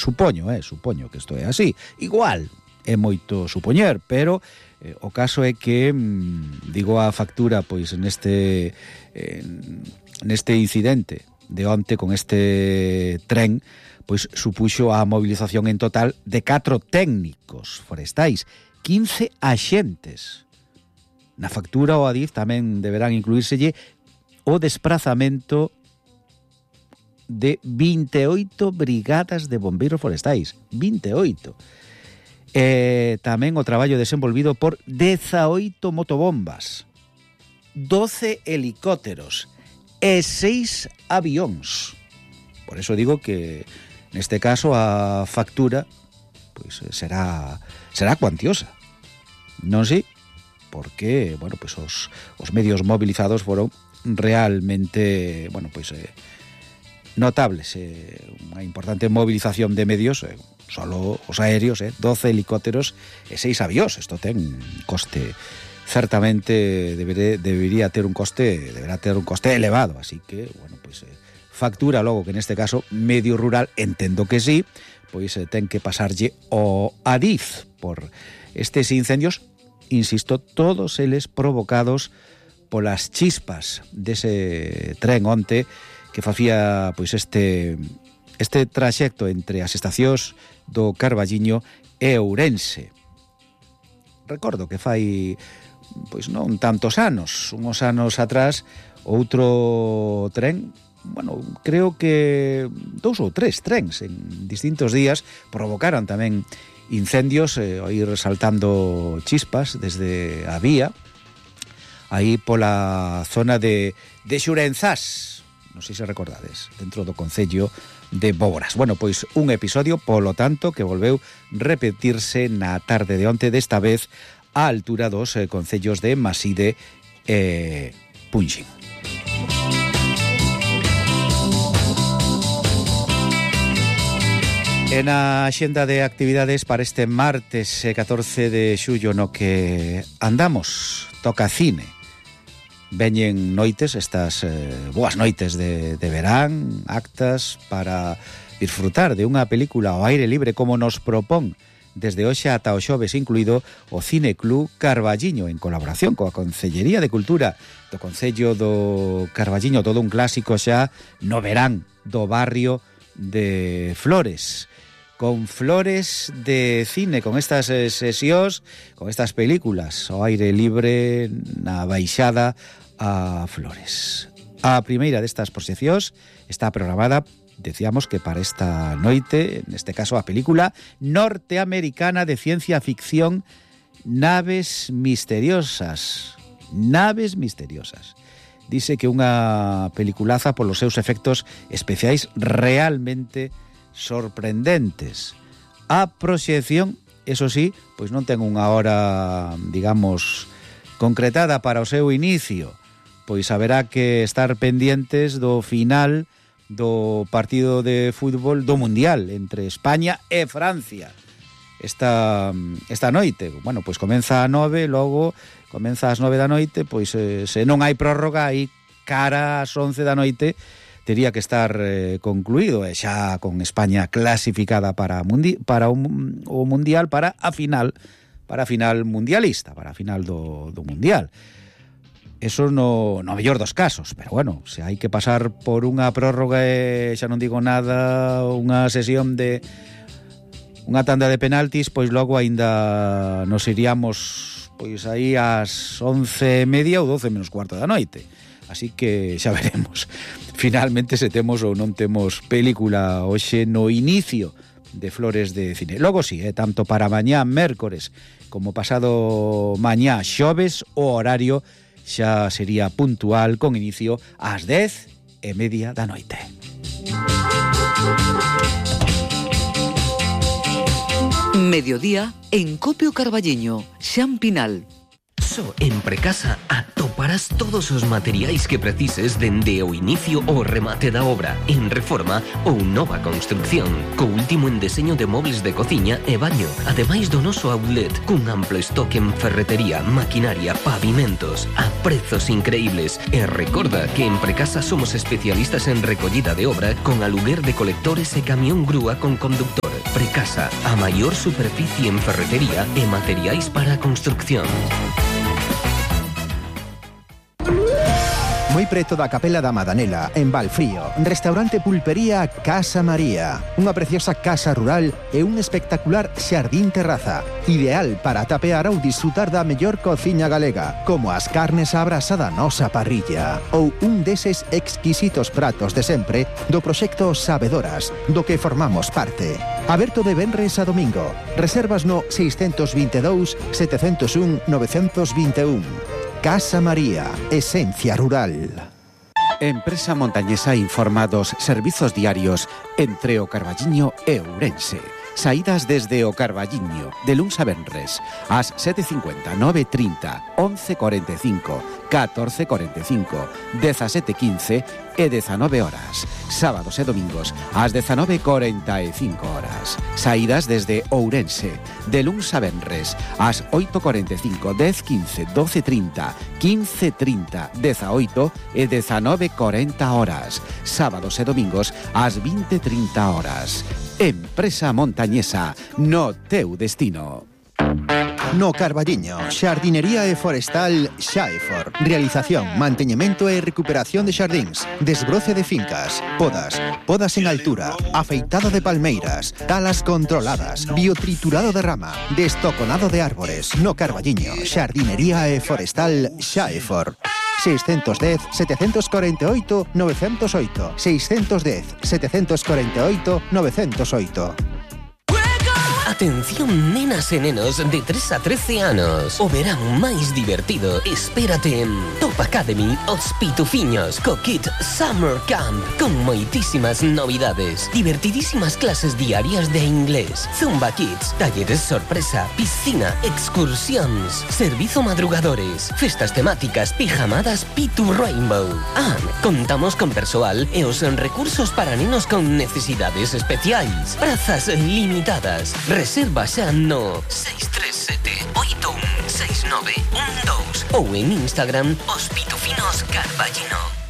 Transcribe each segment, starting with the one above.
Supoño que isto é así. Igual é moito supoñer, pero o caso é que digo a factura pois neste incidente de onte con este tren, pois supuxo a movilización en total de 4 técnicos forestais, 15 axentes. Na factura o Adif tamén deberán incluírselle o desprazamento de 28 brigadas de bombeiros forestais. 28. Tamén o traballo desenvolvido por 18 motobombas, 12 helicópteros e 6 avións. Por eso digo que neste caso a factura pois será cuantiosa. Non sei, porque, bueno, pois os medios movilizados foron realmente, bueno, pois notables, unha importante movilización de medios, solo os aéreos, 12 helicópteros e 6 avións. Isto ten un coste, certamente deberá ter un coste elevado, así que, bueno, pois factura logo que neste caso medio rural, entendo que sí, pois ten que pasarlle o Adif por estes incendios, insisto, todos eles provocados polas chispas dese tren onte que facía pois este traxecto entre as estacións do Carballiño e Ourense. Recordo que fai pois non tantos anos, uns anos atrás, outro tren, bueno, creo que 2 ou 3 trens en distintos días provocaron tamén incendios, ir saltando chispas desde a vía, aí pola zona de Xurenzás, non sei se recordades, dentro do concello de Boboras. Bueno, pois un episodio, polo tanto, que volveu repetirse na tarde de onte, desta vez á altura dos concellos de Maside e Punxín. En a axenda de actividades para este martes 14 de xullo no que andamos, toca cine. Veñen noites, estas boas noites de verán, actas para disfrutar de unha película ao aire libre como nos propón desde hoxe ata o xoves incluído o Cine Club Carballiño, en colaboración coa Concellería de Cultura do Concello do Carballiño, todo un clásico xa no verán do barrio de Flores, con Flores de cine, con estas sesións, con estas películas ao aire libre na baixada a Flores. A primeira destas proxeccións está programada, decíamos que para esta noite, neste caso a película norteamericana de ciencia ficción Naves Misteriosas. Naves Misteriosas. Dice que unha peliculaza polos seus efectos especiais realmente sorprendentes. A proxección, eso sí, pois non ten unha hora, digamos, concretada para o seu inicio, pois haberá que estar pendientes do final do partido de fútbol do Mundial entre España e Francia esta noite. Bueno, pois comeza a 9, logo comeza ás 9 da noite, pois se non hai prórroga, aí cara ás 11 da noite tería que estar concluído, e xa con España clasificada para o Mundial, para a final mundialista, para a final do Mundial. Eso no mellor dos casos, pero bueno, se hai que pasar por unha prórroga e xa non digo nada, unha sesión de unha tanda de penaltis, pois logo aínda nos iríamos pois aí ás 11:30 ou 12 menos cuarto da noite. Así que xa veremos finalmente se temos ou non temos película hoxe no inicio de Flores de cine. Logo sí, tanto para mañá mércores como pasado mañá xoves, o horario xa sería puntual con inicio ás 10:30 da noite. Mediodía en Copio Carballiño, Xan Pinal. Só en Precasa atoparás todos os materiais que precises dende o inicio ao remate da obra, en reforma ou nova construcción, co último en deseño de mobles de cociña e baño, ademais do noso outlet, cun amplo estoque en ferretería, maquinaria, pavimentos, a prezos increíbles. E recorda que en Precasa somos especialistas en recollida de obra con aluguer de colectores e camión grúa con conductor. Precasa, a maior superficie en ferretería e materiais para a construcción. Moi preto da Capela da Madanela, en Valfrío, restaurante pulpería Casa María, unha preciosa casa rural e un espectacular xardín terraza, ideal para tapear ou disfrutar da mellor cociña galega, como as carnes á brasa da nosa parrilla, ou un deses exquisitos pratos de sempre do proxecto Sabedoras, do que formamos parte. Aberto de venres a domingo. Reservas no 622 701 921. Casa María, esencia rural. Empresa Montañesa informa dos servizos diarios entre o Carballiño e Ourense. Saídas desde o Carballiño, de luns a venres, ás 7:50, 9:30, 11:45, 14:45, 17:15 e 19 horas. Sábados e domingos, ás 19:45 horas. Saídas desde Ourense, de luns a venres, ás 8:45, 10:15, 12:30, 15:30, 18 e 19:40 horas. Sábados e domingos, ás 20:30 horas. Empresa Montañesa, no teu destino. No Carballiño, xardinería e forestal Xaefor. Realización, manteñemento e recuperación de xardíns, desbroce de fincas, podas en altura, afeitado de palmeiras, talas controladas, biotriturado de rama, destoconado de árbores. No Carballiño, xardinería e forestal Xaefor. 610 748 908 610 748 908. Atención, nenas e nenos de 3 a 13 anos. O verán máis divertido espérate en Top Academy Os Pitufiños co Kit Summer Camp, con moitísimas novidades, divertidísimas clases diarias de inglés, Zumba Kids, talleres sorpresa, piscina, excursións, servizo madrugadores, festas temáticas, pijamadas Pitu Rainbow. Contamos con persoal e os recursos para nenos con necesidades especiais. Prazas limitadas. Reserva xa no 637 816912 ou en Instagram Os Pitufinos Carballiño.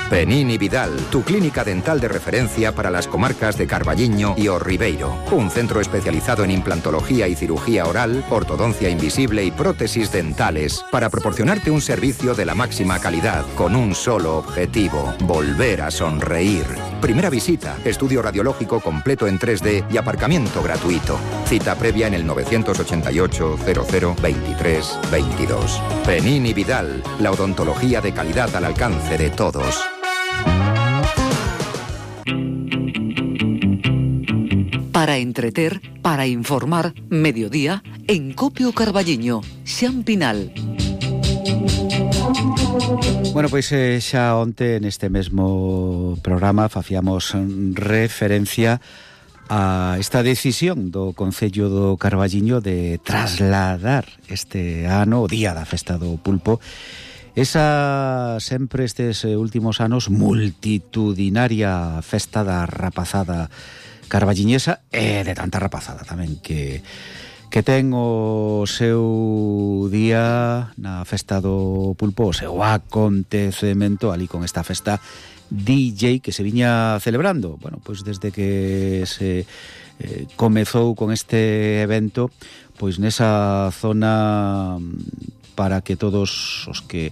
Penini Vidal, tu clínica dental de referencia para las comarcas de Carballiño y O Ribeiro. Un centro especializado en implantología y cirugía oral, ortodoncia invisible y prótesis dentales para proporcionarte un servicio de la máxima calidad con un solo objetivo: volver a sonreír. Primera visita, estudio radiológico completo en 3D y aparcamiento gratuito. Cita previa en el 988 00 23 22. Penini Vidal, la odontología de calidad al alcance de todos. Para entreter, para informar, mediodía, en Copio Carballiño, Xampinal. Bueno, pois xa onte neste mesmo programa facíamos referencia a esta decisión do Concello do Carballiño de trasladar este ano o Día da Festa do Pulpo, esa sempre estes últimos anos multitudinaria festa da rapazada carballiñesa e de tanta rapazada tamén que ten o seu día na festa do Pulpo, o seu acontecemento ali con esta festa DJ que se viña celebrando, bueno, pois desde que se comezou con este evento, pois nesa zona para que todos os que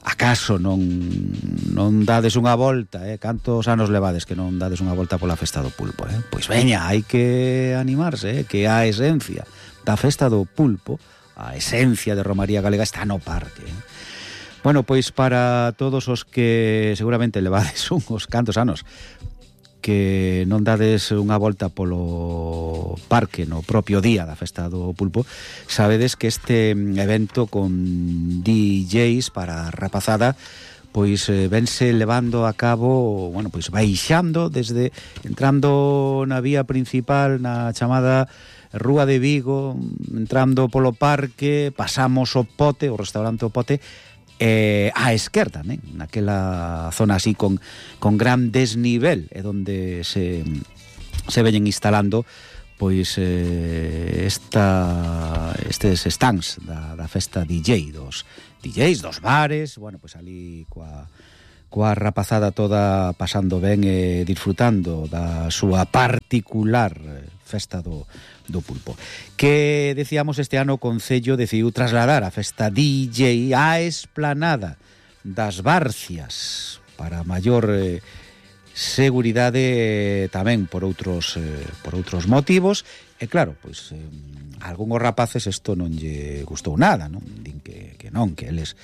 acaso non dades unha volta, cantos anos levades que non dades unha volta pola festa do Pulpo, pois veña, hai que animarse, que a esencia da festa do Pulpo, a esencia de Romaría Galega está no parque. Bueno, pois para todos os que seguramente levades uns cantos anos que non dades unha volta polo parque no propio día da festa do Pulpo, sabedes que este evento con DJs para a rapazada pois vense levando a cabo, bueno, pois baixando desde entrando na vía principal na chamada Rúa de Vigo, entrando polo parque, pasamos o Pote, o restaurante O Pote, á esquerda, naquela zona así con gran desnivel, é onde se veñen instalando pois estes stands da festa DJ, dos DJs, dos bares, bueno, pois ali coa coa rapazada toda pasando ben e disfrutando da súa particular festa do pulpo. Que, decíamos, este ano o Concello decidiu trasladar a festa DJ á esplanada das Barcias para maior seguridade, tamén por outros motivos. E claro, pois a algúns rapaces isto non lle gustou nada, non? Din que non, que eles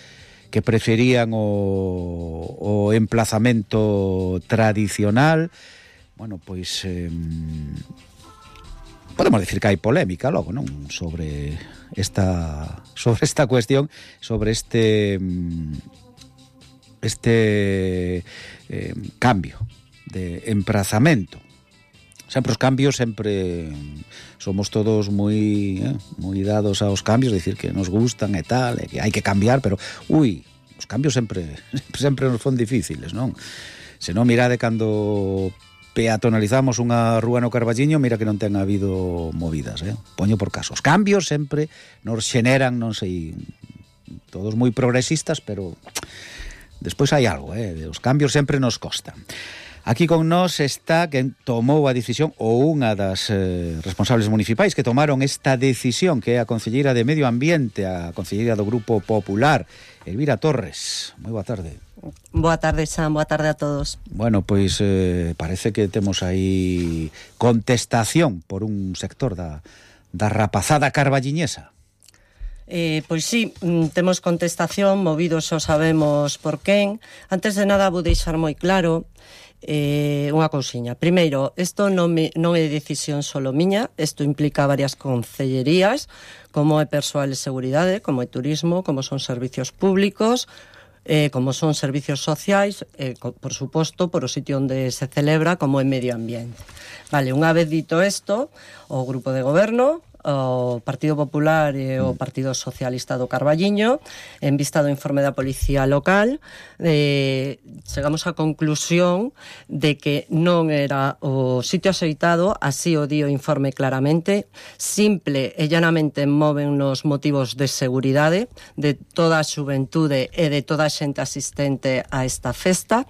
que preferían o emplazamento tradicional. Bueno, pois podemos decir que hai polémica logo, non? Sobre esta cuestión, sobre este cambio de emplazamento. Sempre os cambios, sempre somos todos moi dados aos cambios, decir que nos gustan e tal, e que hai que cambiar, pero os cambios sempre nos son difíciles, non? Se non, mirade cando peatonalizamos unha rúa no Carballiño, mira que non ten habido movidas, poño por caso. Os cambios sempre nos xeneran, non sei, todos moi progresistas, pero despois hai algo, os cambios sempre nos costan. Aquí con nós está quen tomou a decisión, ou unha das responsables municipais que tomaron esta decisión, que é a concelleira de Medio Ambiente, a concelleira do Grupo Popular, Elvira Torres. Moi boa tarde. Boa tarde, Sam, boa tarde a todos. Bueno, pois parece que temos aí contestación por un sector da rapazada carballiñesa. Pois sí, temos contestación, movidos xa sabemos por quen. Antes de nada vou deixar moi claro unha cousiña. Primeiro, isto non é decisión solo miña, isto implica varias concellerías, como é persoal de seguridade, como é turismo, como son servicios públicos, como son servicios sociais, por suposto, por o sitio onde se celebra, como é medio ambiente. Vale, unha vez dito isto, o grupo de goberno, o Partido Popular e o Partido Socialista do Carballiño, en vista do informe da Policía Local, chegamos á conclusión de que non era o sitio axeitado, así o di o informe claramente, simple e llanamente moven nos motivos de seguridade de toda a xuventude e de toda a xente asistente a esta festa.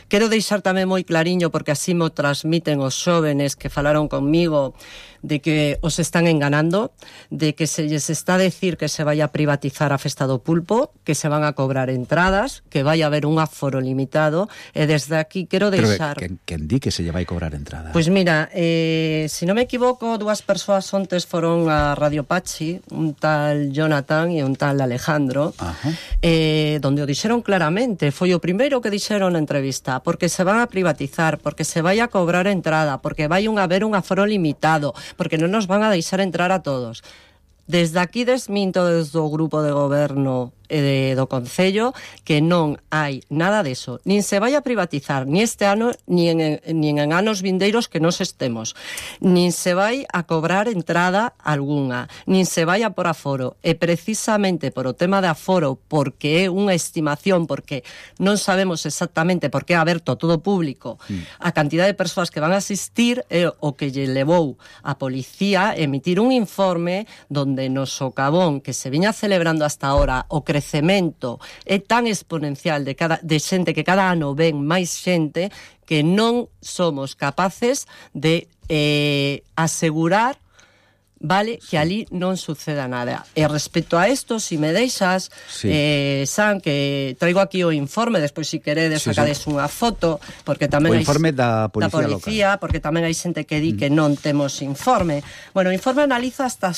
Quero deixar tamén moi clariño, porque así mo transmiten os xóvenes que falaron conmigo, de que os están enganando, de que se lles está a decir que se vai a privatizar a festa do pulpo, que se van a cobrar entradas, que vai a haber un aforo limitado, e desde aquí quero deixar... Pero quen di que se lle vai cobrar entrada? Pois mira, se non me equivoco, dúas persoas ontes foron a Radio Pachi, un tal Jonathan e un tal Alejandro, donde o dixeron claramente, foi o primeiro que dixeron na entrevista, porque se van a privatizar, porque se vai a cobrar entrada, porque vai a haber un aforo limitado, porque non nos van a deixar entrar a todos. Desde aquí desminto desde o grupo de goberno e do Concello que non hai nada deso. Nin se vai a privatizar, ni este ano, ni en anos vindeiros que nos estemos. Nin se vai a cobrar entrada algunha, nin se vai a por aforo. E precisamente por o tema de aforo, porque é unha estimación, porque non sabemos exactamente por que é aberto todo público, a cantidad de persoas que van a asistir é o que lle levou a policía emitir un informe donde no socavón que se viña celebrando hasta ahora o crecemento é tan exponencial de xente, que cada ano ven máis xente, que non somos capaces de asegurar, vale, que ali non suceda nada. E respecto a isto, si me deixas, San, que traigo aquí o informe, despois si queredes sacades unha foto, porque tamén o informe da Policía Local, porque tamén hai xente que di que non temos informe. Bueno, o informe analiza hasta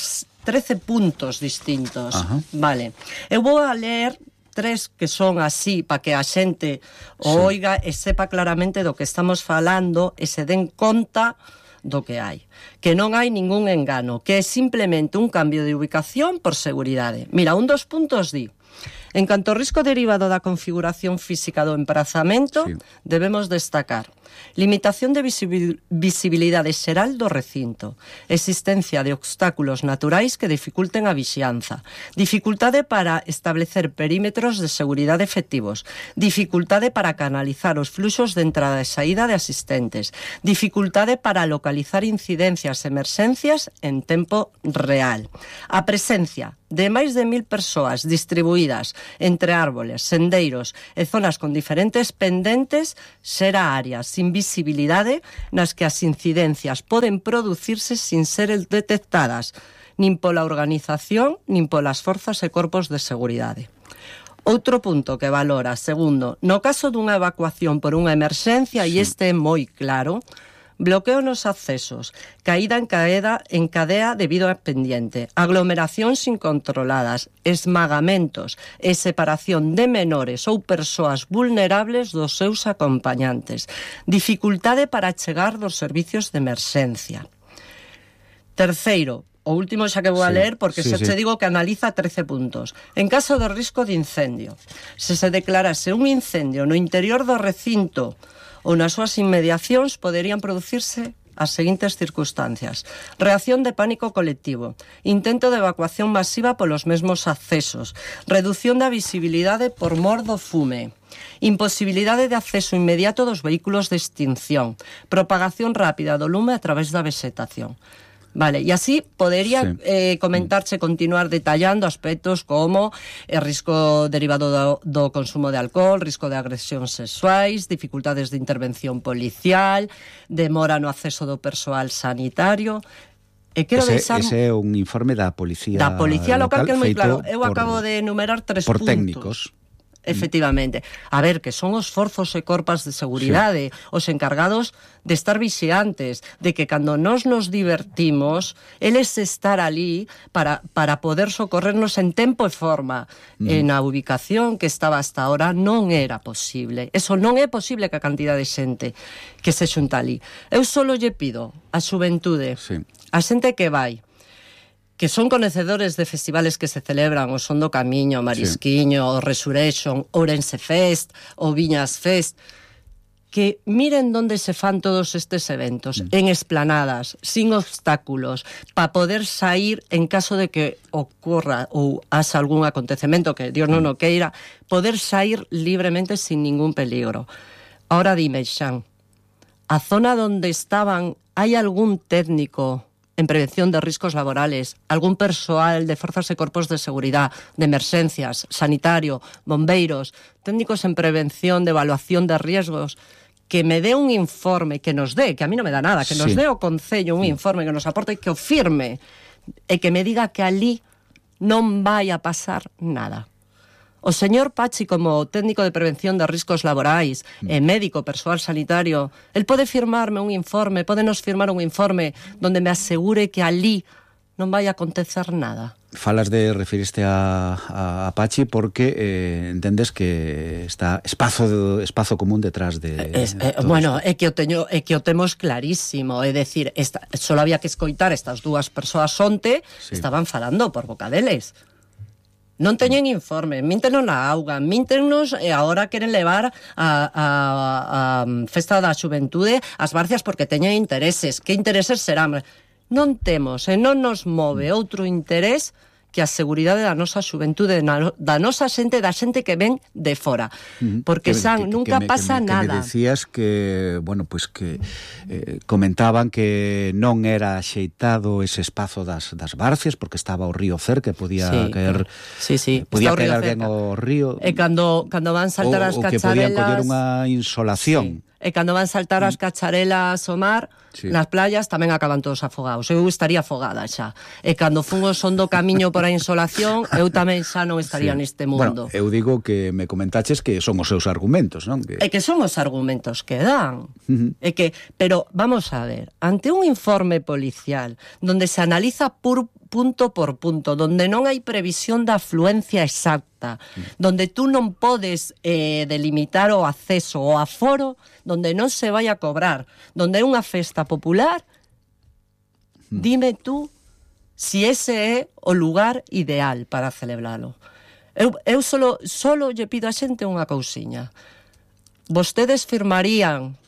13 puntos distintos. Vale. Eu vou a ler 3 que son así, para que a xente o oiga e sepa claramente do que estamos falando e se den conta do que hai. Que non hai ningún engano, que é simplemente un cambio de ubicación por seguridade. Mira, un dos puntos di: en canto ao risco derivado da configuración física do emprazamento, debemos destacar limitación de visibilidade xeral do recinto, existencia de obstáculos naturais que dificulten a vixianza, dificultade para establecer perímetros de seguridade efectivos, dificultade para canalizar os fluxos de entrada e saída de asistentes, dificultade para localizar incidencias e emerxencias en tempo real, a presencia de máis de 1000 persoas distribuídas entre árboles, sendeiros e zonas con diferentes pendentes será áreas sin visibilidade nas que as incidencias poden producirse sin ser detectadas nin pola organización nin polas forzas e corpos de seguridade. Outro punto que valora, segundo, no caso dunha evacuación por unha emerxencia, e este é moi claro, bloqueo nos accesos, caída en cadea debido a pendiente, aglomeracións incontroladas, esmagamentos e separación de menores ou persoas vulnerables dos seus acompañantes, dificultade para chegar dos servicios de emerxencia. Terceiro, o último xa que vou a ler, porque xa te digo que analiza 13 puntos. En caso de risco de incendio, se declarase un incendio no interior do recinto ou nas súas inmediacións, poderían producirse as seguintes circunstancias: reacción de pánico colectivo, intento de evacuación masiva polos mesmos accesos, reducción da visibilidade por mor do fume, imposibilidade de acceso inmediato dos vehículos de extinción, propagación rápida do lume a través da vegetación. Vale, e así podería comentarche, continuar detallando aspectos como o risco derivado do consumo de alcohol, risco de agresións sexuais, dificultades de intervención policial, demora no acceso do persoal sanitario. E quero deixar... Ese é un informe da Policía Local, que é moi claro. Eu por, acabo de enumerar 3 por puntos. Técnicos. Efectivamente. A ver, que son os forzos e corpas de seguridade, os encargados de estar vixiantes, de que cando nos divertimos, eles estar ali para poder socorrernos en tempo e forma. Na ubicación que estaba hasta ahora non era posible. Eso non é posible que a cantidad de xente que se xunta ali. Eu só lle pido a xuventude, a xente que vai, que son conhecedores de festivales que se celebran, o Son do Camiño, o Marisquiño, o Resurrection, Ourense Fest, o Viñas Fest, que miren onde se fan todos estes eventos, en esplanadas, sin obstáculos, para poder sair en caso de que ocorra ou haxa algún acontecemento que Dios non o queira, poder sair libremente sin ningún peligro. Ahora dime, Xan, a zona onde estaban, hai algún técnico en prevención de riscos laborales, algún persoal de forzas e corpos de seguridade, de emerxencias, sanitario, bombeiros, técnicos en prevención de evaluación de riesgos, que me dé un informe, que nos dé, que a mí non me dá nada, que nos dé o Concello un informe que nos aporte, que o firme, e que me diga que ali non vai a pasar nada. O señor Pachi, como técnico de prevención de riscos laborais e médico, persoal sanitario, el pode firmarme un informe, podenos firmar un informe donde me asegure que ali non vai a acontecer nada. Falas de referiste a Pachi porque entendes que está espazo común detrás de bueno, é que o temos clarísimo, é decir, só había que escoitar estas dúas persoas onte, estaban falando por boca deles. Non teñen informe, míntenos na auga, míntenos e agora queren levar a Festa da Xuventude ás Barcias porque teñen intereses. Que intereses serán? Non temos e non nos move outro interés que a seguridade da nosa xuventude, da nosa xente, da xente que ven de fora. Porque, San, nunca pasa nada. Que me decías que, bueno, pues que comentaban que non era axeitado ese espazo das Barcias porque estaba o río cerca, podía caer podía caer alguén ao río. E cando van saltar as cacharelas... Ou que podían coller unha insolación. E cando van saltar as cacharelas ao mar, nas playas tamén acaban todos afogados. Eu estaría afogada xa. E cando fun o Son do Camiño por a insolación, eu tamén xa non estaría neste mundo. Bueno, eu digo que me comentaches que son os seus argumentos, non? É que son os argumentos que dan. Pero, vamos a ver, ante un informe policial donde se analiza punto por punto, donde non hai previsión da afluencia exacta, donde tú non podes delimitar o acceso o aforo, donde non se vai a cobrar, donde é unha festa popular, dime tú si ese é o lugar ideal para celebralo. Eu solo lle pido a xente unha cousiña. Vostedes firmarían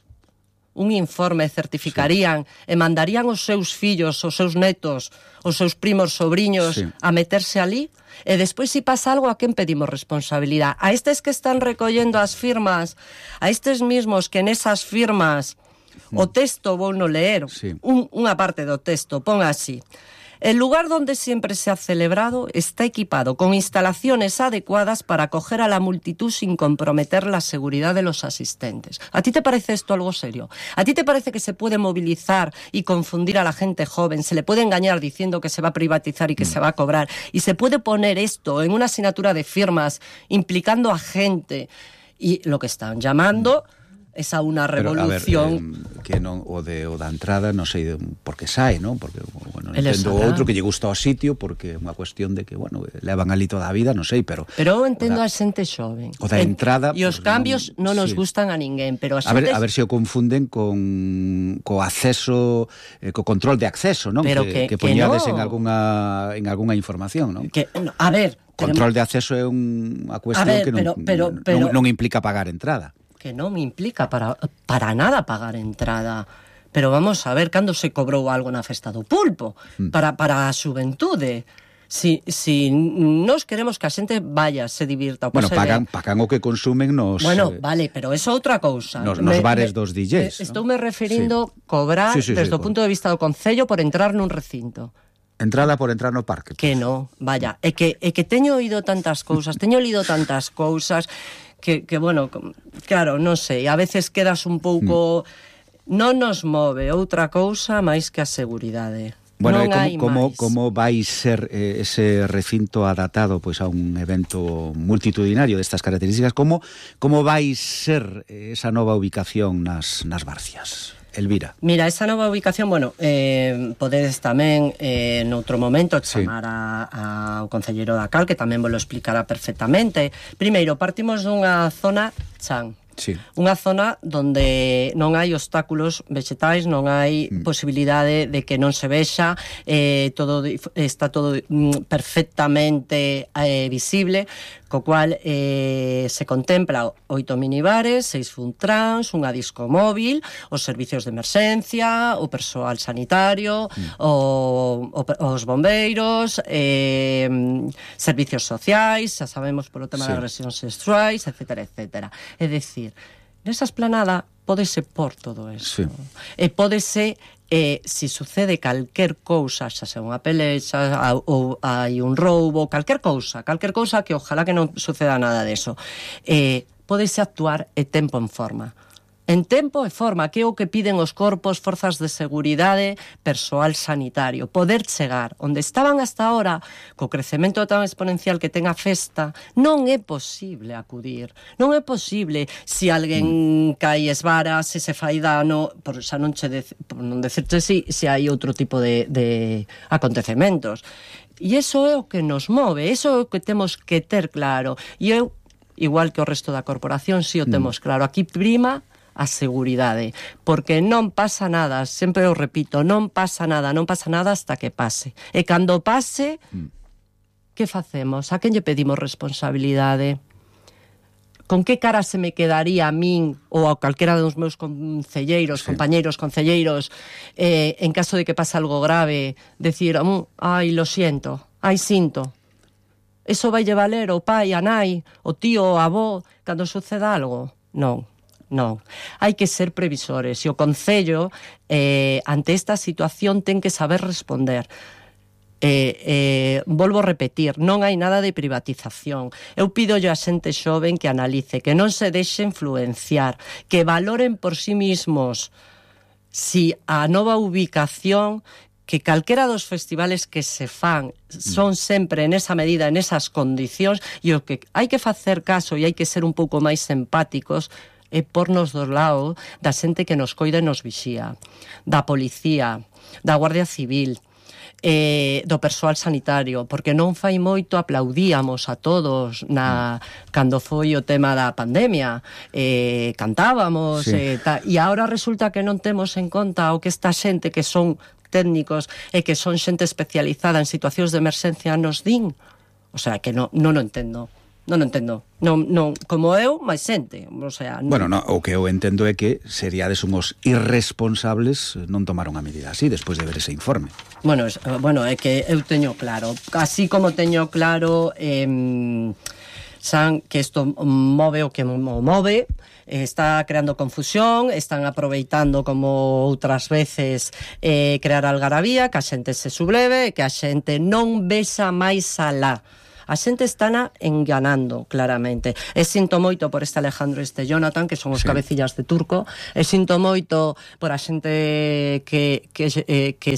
un informe, certificarían e mandarían os seus fillos, os seus netos, os seus primos, sobriños a meterse ali? E despois, se pasa algo, a quen pedimos responsabilidade? A estes que están recollendo as firmas, a estes mismos que nesas firmas o texto vou no leer, unha parte do texto, pon así: El lugar donde siempre se ha celebrado está equipado con instalaciones adecuadas para acoger a la multitud sin comprometer la seguridad de los asistentes. ¿A ti te parece esto algo serio? ¿A ti te parece que se puede movilizar y confundir a la gente joven? ¿Se le puede engañar diciendo que se va a privatizar y que se va a cobrar? ¿Y se puede poner esto en una asignatura de firmas implicando a gente? Y lo que están llamando... es a unha revolución. Pero, a ver, que non, o da entrada, non sei por que sae, non? Porque, bueno, entendo outro que lle gusta o sitio, porque é unha cuestión de que, bueno, levan ali toda a vida, non sei, pero... Pero eu entendo a xente xoven. O da entrada... E os cambios non nos gustan a ninguén, pero a xente... A ver se o confunden co acceso, co control de acceso, non? Pero que poñades en algunha información, non? A ver... Control de acceso é unha cuestión que non implica pagar entrada. Que non me implica para nada pagar entrada. Pero vamos a ver cando se cobrou algo na festa do pulpo para a xuventude. Si nos queremos que a xente vaya, se divirta. Bueno, pagan o que consumen nos... Bueno, vale, pero eso é outra cousa. Nos bares dos DJs. Estoume referindo cobrar desde o punto de vista do Concello por entrar nun recinto. Entrada por entrar no parque. Que no, vaya, é que teño oído tantas cousas, teño lido tantas cousas que bueno, claro, non sei, a veces quedas un pouco... Non nos move outra cousa máis que a seguridade. Bueno, como vai ser ese recinto adaptado pois a un evento multitudinario destas características? Como vai ser esa nova ubicación nas Barcias? Elvira. Mira, esa nova ubicación, bueno, podedes tamén noutro momento chamar ao concelleiro da Cal, que tamén vos lo explicará perfectamente. Primeiro, partimos dunha zona chan. Sí. Unha zona donde non hai obstáculos vegetais, non hai posibilidade de que non se vexa, está todo perfectamente visible, co cual se contempla 8 minibares, 6 funtrans, unha disco móvil, os servicios de emerxencia, o persoal sanitario, os bombeiros, servicios sociais, xa sabemos polo tema das agresións sexuais, etcétera, etcétera. É dicir, nesa esplanada pódese por todo eso. E pódese... si sucede calquer cousa, xa sea unha pelexa ou hai un roubo, calquer cousa que ojalá que non suceda nada deso, pódese actuar e tempo en forma. En tempo e forma, que é o que piden os corpos, forzas de seguridade, persoal sanitario. Poder chegar onde estaban hasta ahora, co crecemento tan exponencial que ten a festa, non é posible acudir. Non é posible se alguén cae esvara, se se fai dano, por xa non decirte se hai outro tipo de acontecementos. E iso é o que nos move, iso é o que temos que ter claro. E eu, igual que o resto da corporación, si o temos claro. Aquí prima a seguridade, porque non pasa nada, sempre o repito, non pasa nada hasta que pase. E cando pase, que facemos? A quen lle pedimos responsabilidade? Con que cara se me quedaría a min ou a calquera dos meus concelleiros, compañeiros concelleiros, en caso de que pase algo grave, decir, ai, lo siento, ai, sinto. Eso vai valer o pai, a nai, o tío, o avó, cando suceda algo? Non. Hai que ser previsores e o Concello ante esta situación ten que saber responder. Volvo a repetir, non hai nada de privatización. Eu pídolle a xente xoven que analice, que non se deixe influenciar, que valoren por sí mismos si a nova ubicación, que calquera dos festivales que se fan son sempre nesa medida, nesas condicións, e o que hai que facer caso e hai que ser un pouco máis empáticos é pornos do lado da xente que nos coida e nos vixía, da policía, da Guardia Civil, do persoal sanitario, porque non fai moito aplaudíamos a todos cando foi o tema da pandemia, cantábamos, e agora resulta que non temos en conta o que esta xente que son técnicos e que son xente especializada en situacións de emerxencia nos din. O sea, que non o entendo. Non entendo. Non, como eu, máis xente. O sea, non. Bueno, o que eu entendo é que seríades uns irresponsables non tomaron a medida así despois de ver ese informe. Bueno, é que eu teño claro. Así como teño claro... San que isto move o que move, está creando confusión, están aproveitando como outras veces crear algarabía, que a xente se subleve, que a xente non vexa máis alá. A xente estana enganando claramente. E sinto moito por este Alejandro e este Jonathan, que son os cabecillas de turco, e sinto moito por a xente que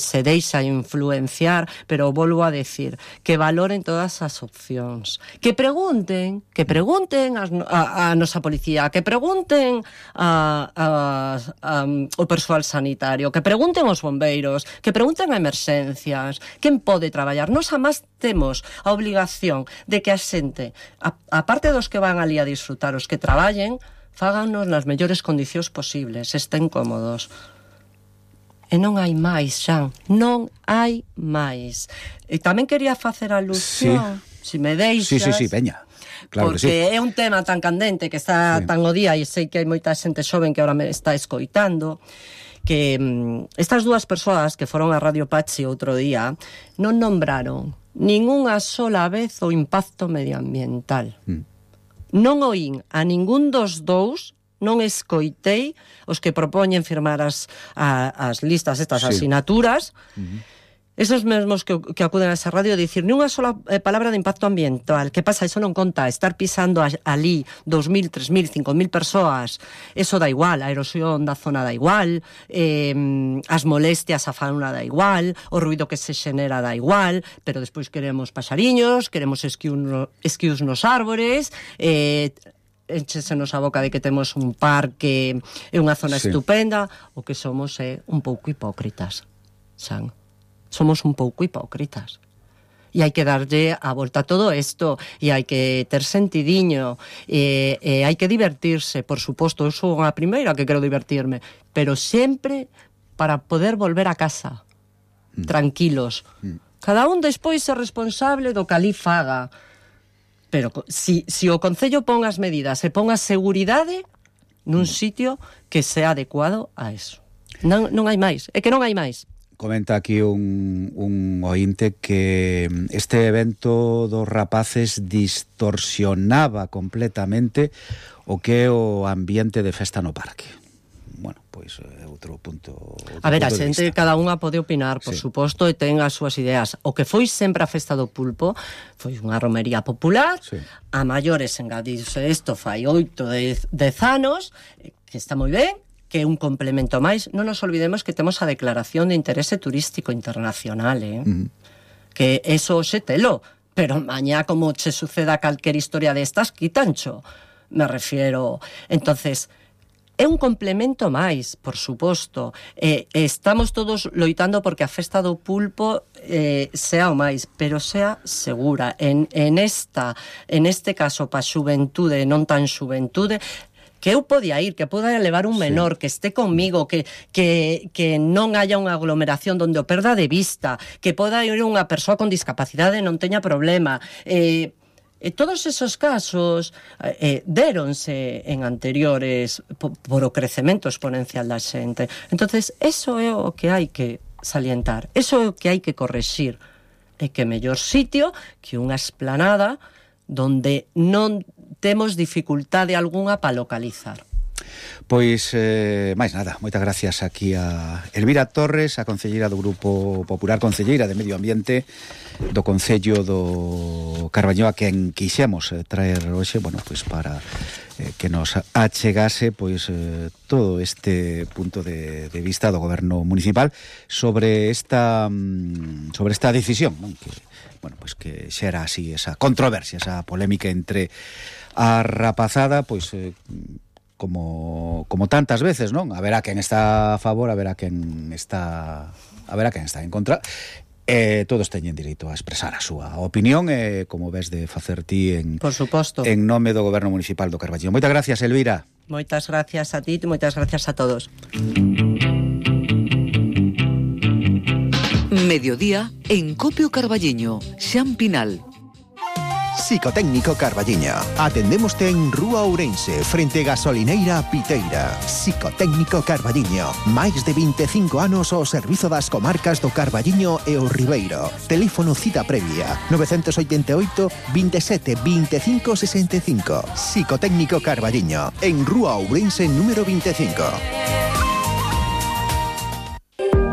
se deixa influenciar, pero volvo a decir, que valoren todas as opcións. Que pregunten a nosa policía, que pregunten ao persoal sanitario, que pregunten aos bombeiros, que pregunten a emerxencias, quen pode traballar. Nos amás temos a obligación de que a xente, a parte dos que van ali a disfrutar, os que traballen, fáganos nas mellores condicións posibles, estén cómodos. E non hai máis, Xan, non hai máis. E tamén quería facer alusión, si me deixas... Sí, veña. Claro porque que sí. É un tema tan candente que está tan o día, e sei que hai moita xente xoven que ahora me está escoitando, que estas dúas persoas que foron a Radio Pachi outro día non nombraron ningunha sola vez o impacto medioambiental. Non oín a ningún dos dous, non escoitei os que propoñen firmar as listas, estas asinaturas, esos mesmos que acuden a esa radio, dicir ni unha sola palabra de impacto ambiental. Que pasa? Eso non conta. Estar pisando ali 2.000, 3.000, 5.000 persoas, eso da igual. A erosión da zona da igual, as molestias a fauna da igual, o ruido que se xenera da igual, pero despois queremos paxariños, queremos esquius nos árbores, enchesenos a boca de que temos un parque e unha zona estupenda. O que somos é un pouco hipócritas, Xan. Somos un pouco hipócritas. E hai que darlle a volta a todo isto, e hai que ter sentidiño, e hai que divertirse, por suposto. Eu sou a primeira que quero divertirme, pero sempre para poder volver a casa tranquilos. Cada un despois é responsable do que ali faga, pero si o Concello pon as medidas e pon a seguridade nun sitio que sea adecuado a eso. Non hai máis, é que non hai máis. Comenta aquí un ointe que este evento dos rapaces distorsionaba completamente o que é o ambiente de festa no parque. Bueno, pois outro punto. A ver, a xente, cada unha pode opinar, por suposto, e ten as súas ideas. O que foi sempre a festa do pulpo foi unha romería popular, a maiores engadiuse isto fai 8, 10 anos, que está moi ben, que é un complemento máis. Non nos olvidemos que temos a Declaración de Interese Turístico Internacional, que eso xe telo, pero mañá como che suceda calquer historia destas, quitancho, me refiero. Entonces, é un complemento máis, por suposto. Estamos todos loitando porque a festa do pulpo sea o máis, pero sea segura. En este caso, pa xuventude, non tan xuventude, que eu podía ir, que poda levar un menor, que esté comigo, que non haya unha aglomeración donde o perda de vista, que poda ir unha persoa con discapacidade e non teña problema. Todos esos casos déronse en anteriores por o crecemento exponencial da xente. Entonces, eso é o que hai que salientar, eso é o que hai que correxir. É que mellor sitio que unha esplanada donde non temos dificultade algunha para localizar. Pois, máis nada, moitas gracias aquí a Elvira Torres, a concelleira do Grupo Popular, concelleira de Medio Ambiente do Concello do Carballiño, a quen quixemos traer hoxe, bueno, pois para que nos achegase pois todo este punto de vista do goberno municipal sobre esta decisión, non? Que, bueno, pois que xera así esa controversia, esa polémica entre a rapazada, pois como tantas veces, non? Haberá quen está a favor, haberá quen está en contra. Todos teñen direito a expresar a súa opinión, como ves de facer ti por suposto, en nome do Goberno Municipal do Carballiño. Moitas gracias, Elvira. Moitas gracias a ti, moitas gracias a todos. Mediodía en Copio Carballiño, Xan Pinal. Psicotécnico Carballiño. Atendémoste en Rúa Ourense, frente Gasolineira Piteira. Psicotécnico Carballiño. Máis de 25 anos ao servizo das comarcas do Carballiño e o Ribeiro. Teléfono cita previa 988 27 25 65. Psicotécnico Carballiño, en Rúa Ourense número 25.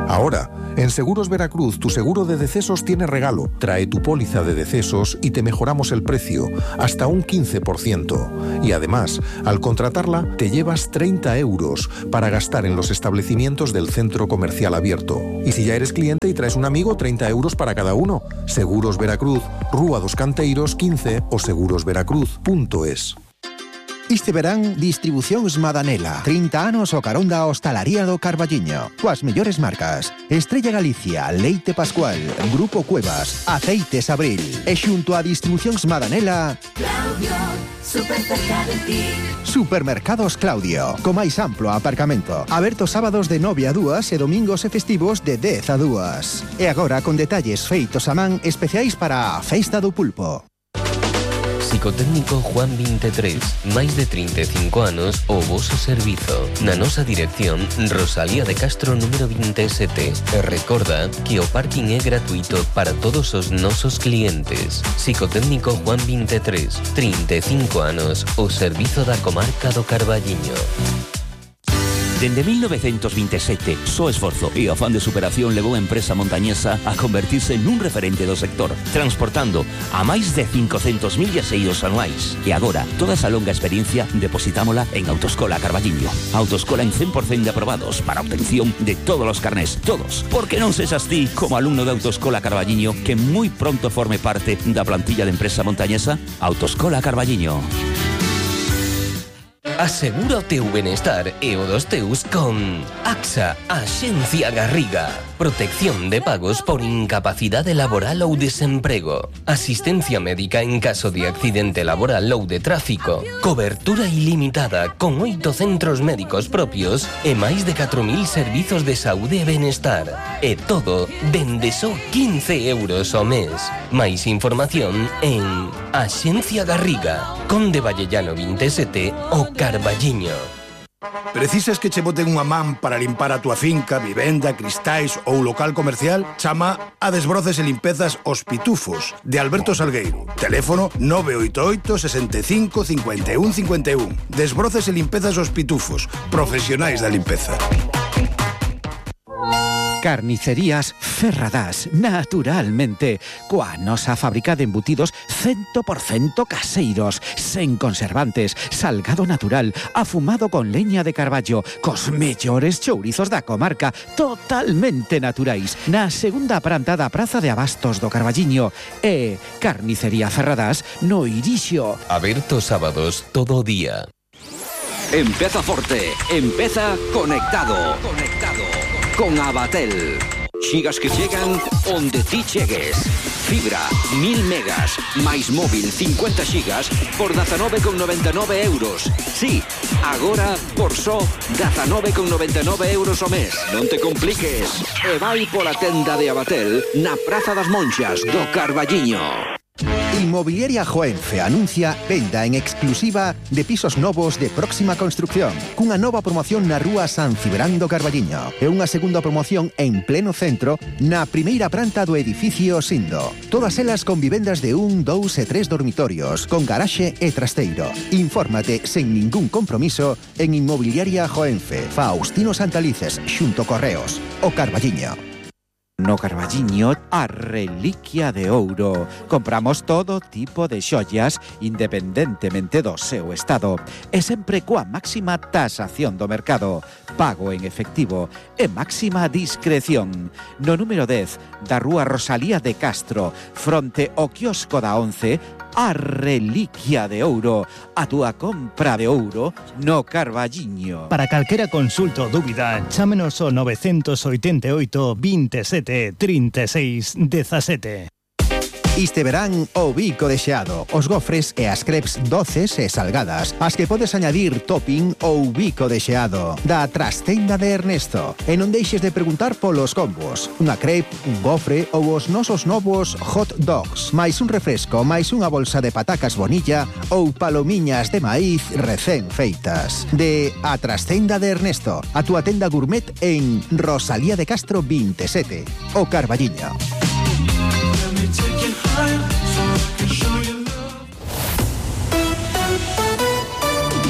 Ahora, en Seguros Veracruz, tu seguro de decesos tiene regalo. Trae tu póliza de decesos y te mejoramos el precio, hasta un 15%. Y además, al contratarla, te llevas 30 euros para gastar en los establecimientos del centro comercial abierto. Y si ya eres cliente y traes un amigo, 30 euros para cada uno. Seguros Veracruz, Rúa dos Canteiros 15 o segurosveracruz.es. Este verán, Distribucións Madanela. 30 anos o carón da hostalaría do Carballiño. Coas mellores marcas: Estrella Galicia, Leite Pascual, Grupo Cuevas, Aceites Abril. E xunto a Distribucións Madanela, Claudio, super cerca de ti. Supermercados Claudio, co máis amplo aparcamento. Aberto sábados de 9 a 2 e domingos e festivos de 10 a 2. E agora con detalles feitos a man especiais para a Festa do Pulpo. Psicotécnico Juan 23, máis de 35 anos o voso servizo. Na nosa dirección, Rosalía de Castro número 27. E recorda que o parking é gratuito para todos os nosos clientes. Psicotécnico Juan 23, 35 anos o servizo da comarca do Carballiño. Dende 1927, só esforzo e afán de superación levou a empresa montañesa a convertirse nun referente do sector, transportando a máis de 500.000 viaxeiros anuais. E agora, toda esa longa experiencia depositámola en Autoescola Carballiño. Autoescola en 100% de aprobados para obtención de todos os carnés, todos. Porque non sexas ti, como alumno de Autoescola Carballiño, que moi pronto forme parte da plantilla de empresa montañesa. Autoescola Carballiño. Asegura o teu benestar e o dos teus con AXA, Axencia Garriga. Protección de pagos por incapacidade laboral ou desemprego. Asistencia médica en caso de accidente laboral ou de tráfico. Cobertura ilimitada con 8 centros médicos propios e máis de 4.000 servizos de saúde e benestar. E todo dende só 15 euros ao mes. Máis información en Axencia Garriga, Conde Vallellano 27 o Carballiño. Precisas que che boten unha man para limpar a túa finca, vivenda, cristais ou local comercial? Chama a Desbroces e Limpezas Os Pitufos, de Alberto Salgueiro. Teléfono 988 65 51 51. Desbroces e Limpezas Os Pitufos, profesionais da limpeza. Carnicerías Ferradás, naturalmente, coa nosa fábrica de embutidos 100% caseiros, sen conservantes, salgado natural, afumado con leña de carballo, cos mellores chourizos da comarca, totalmente naturais, na segunda planta da Praza de Abastos do Carballiño. E Carnicería Ferradás no Irixo. Aberto sábados todo o día. Empeza forte, empeza conectado. Con Abatel. Xigas que chegan onde ti chegues. Fibra, 1000 megas, máis móvil 50 xigas por 19,99 euros. Sí, agora por só 19,99 euros ao mes. Non te compliques. E vai pola tenda de Abatel na Praza das Monxas do Carballiño. Inmobiliaria Joenfe anuncia venda en exclusiva de pisos novos de próxima construcción, cunha nova promoción na rúa San Cibrán do Carballiño e unha segunda promoción en pleno centro na primeira planta do edificio Sindo. Todas elas con vivendas de 1, 2 e 3 dormitorios, con garaxe e trasteiro. Infórmate sen ningún compromiso en Inmobiliaria Joenfe, Faustino Santalices, xunto Correos, o Carballiño. No Carballiño, a reliquia de ouro. Compramos todo tipo de xollas, independentemente do seu estado. E sempre coa máxima tasación do mercado. Pago en efectivo e máxima discreción. No número 10 da rúa Rosalía de Castro, fronte ao quiosco da 11, a reliquia de ouro. A túa compra de ouro no Carballiño. Para calquera consulta ou dúbida, chámenos ao 988 27 36 17. Este verán o bico de xeado, os gofres e as crepes doces e salgadas, as que podes añadir topping ou bico de xeado, da Trastenda de Ernesto. E non deixes de preguntar polos combos. Unha crepe, un gofre ou os nosos novos hot dogs, máis un refresco, máis unha bolsa de patacas bonilla ou palomiñas de maíz recén feitas. De A Trastenda de Ernesto, a túa tenda gourmet en Rosalía de Castro 27, o Carballiño.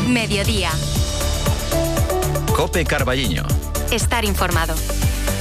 Mediodía. COPE Carballiño. Estar informado.